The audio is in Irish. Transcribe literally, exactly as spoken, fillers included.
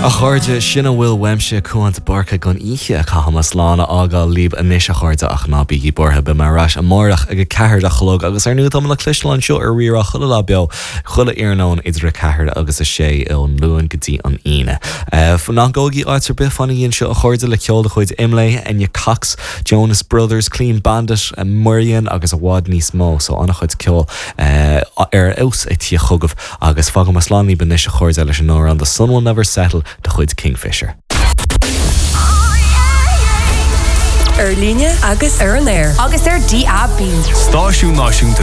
A chairde sin a bhfuil uaimse Cuan de Búrca don oíche caithfidh mé slán a fhágáil libh anois a chairde ach ná bígí buartha beidh mé ar ais amárach ag a ceathair a chlog agus ar ndóigh tá le cloisteáil anseo ar Rí-Rá chuile lá beo chuile iarnóin idir a ceathair agus a sé ón Luan go dtí an Aoine. Ná gabhaigí áit ar bith fanaigí anseo a chairde le ceol de chuid Imlé, Enya Cox, Jonas Brothers, Clean Bandit, Murian agus i bhfad níos mó so an-chuid ceol ar fheabhas ag tíocht chugaibh agus fágfaidh mé slán libh anois a chairde leis an amhrán The Sun Will Never Settle de chuid Kingfisher. Ar líne agus ar an aer agus ar DAB. Stáisiún náisiúnta